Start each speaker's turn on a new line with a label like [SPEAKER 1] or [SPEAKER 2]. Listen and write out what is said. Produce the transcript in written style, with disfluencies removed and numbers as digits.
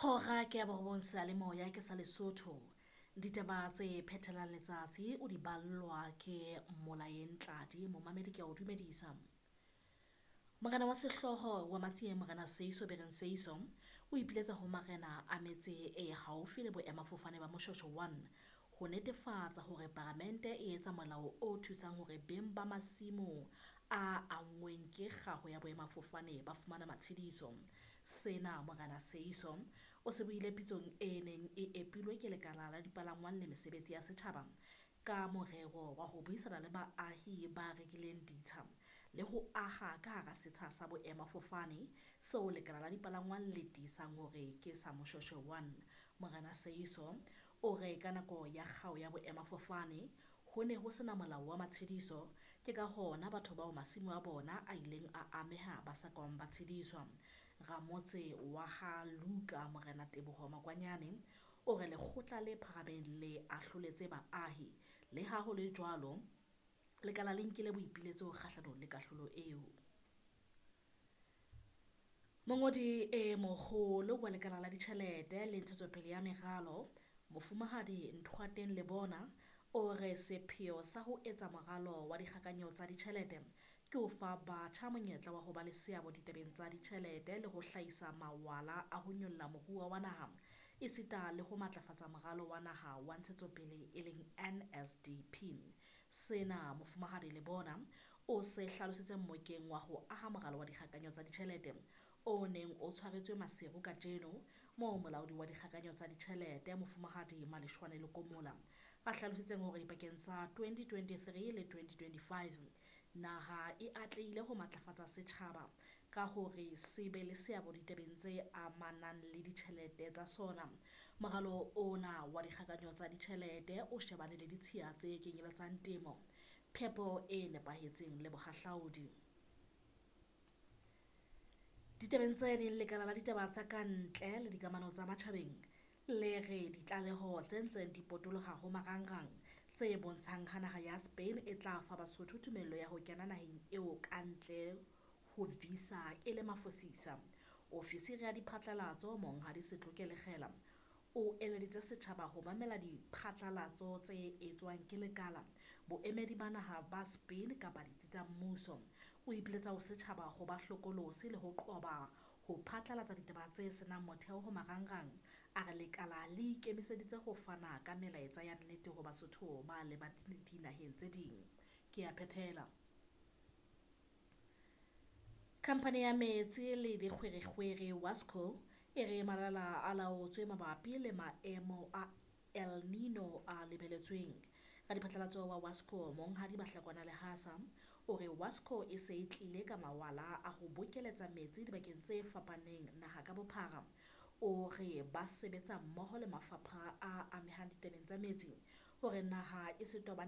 [SPEAKER 1] Hora ke ya borobong seyalemoya ke sa Lesotho. Ditaba tse phethelang letsatsi o di ballwa ke Molaeng Tladi momamedi ke a o dumedisa. Morena wa sehlooho wa Matsieng Morena Seeiso Bereng Seeiso o ipiletsa ho marena a metse e haufi le boemafofane ba Moshoeshoe 1 ho netefatsa hore paramente e etsa molao o thusang hore beng ba masimo a anngweng ke kgaho ya boemafofane ba fumana matshidiso. Sena Morena Seeiso o se buile pitsong e neng e epilwe ke lekala la dipalangwang le mesebetsi ya setjhaba ka morero wa ho buisana le baahi ba rekileng ditsha le ho aha ka hara setsha sa boemafofane seo lekala la dipalangwang le tiisang hore ke sa Moshoeshoe 1. Morena Seeiso o re ka nako ya kgao ya boemafofane ho ne ho sena molao wa matshediso, ke ka hona batho bao masimo a bona a ileng a ameha ba sa kang ba tshediswa. Ramotse wa ha Luka Morena Teboho Makwanyane o re lekgotla le phahameng le ahloletse baahi. Le ha ho le jwalo, lekala le nkile boipiletso kgahlanong le kahlolo eo. Mongodi e moholo wa lekala la ditjhelete le ntshetsopele ya meralo, Mofumahadi Nthoateng Lebona o re sepheo sa ho etsa moralo wa dikgakanyo tsa ditjhelete ke ho fa batjha monyetla wa ho ba le seabo ditabeng tsa ditjhelete le ho hlahisa mawala a ho nyolla moruo wa naha esita le ho matlafatsa moralo wa naha wa ntshetsopele e leng NSDP. Sena Mofumahadi Lebona o se hlalositse mmokeng wa ho aha moralo wa dikgakanyo tsa ditjhelete o neng o tshwaretswe Maseru kajeno moo molaodi wa dikgakanyo tsa ditjhelete Mofumahadi Maleshwane Lekomola a hlalositseng hore dipakeng tsa 2023 le 2025 naha e atlehile ho matlafatsa setjhaba ka hore se be le seabo ditabeng tse amanang le ditjhelete tsa sona. Moralo ona wa dikgakanyo tsa ditjhelete o shebane le ditshiya tse kenyeletsang temo, phepo e nepahetseng le bohahlaodi. Ditabeng tse ding, lekala la ditaba tsa kantle le dikamano tsa matjhabeng le re ditlaleho tse ntseng di potoloha ho marangrang tse bontshang ha naha ya Spain e tla fa Basotho tumello ya ho kena naheng eo ka ntle ho visa e le mafosisa. Ofisiri ya diphatlalatso Monghadi Setloke Lekgela o eleditse setjhaba ho mamela diphatlalatso tse etswang ke lekala, boemedi ba naha ba Spain kapa ditsi tsa mmuso. O ipiletsa ho setjhaba ho ba hlokolosi le ho qoba ho phatlalatsa ditaba tse senang motheo ho marangrang. A re lekala le ikemiseditse ho fana ka melaetsa ya nnete ho Basotho ba lebang dinaheng tse ding. Ke a phethela. Khamphane ya metsi le dikgwerekgwere WASCO e re malala a laotswe mabapi le maemo a El Nino a lebeletsweng. Radiphatlalatso wa WASCO Monghadi Bahlakwana Lehasa o re WASCO e se e tlile ka mawala a ho bokeletsa metsi dibakeng tse fapaneng naha ka bophara. O re ba sebetsa mmoho le mafapha a amehang ditabeng tsa metsi hore naha e se tobane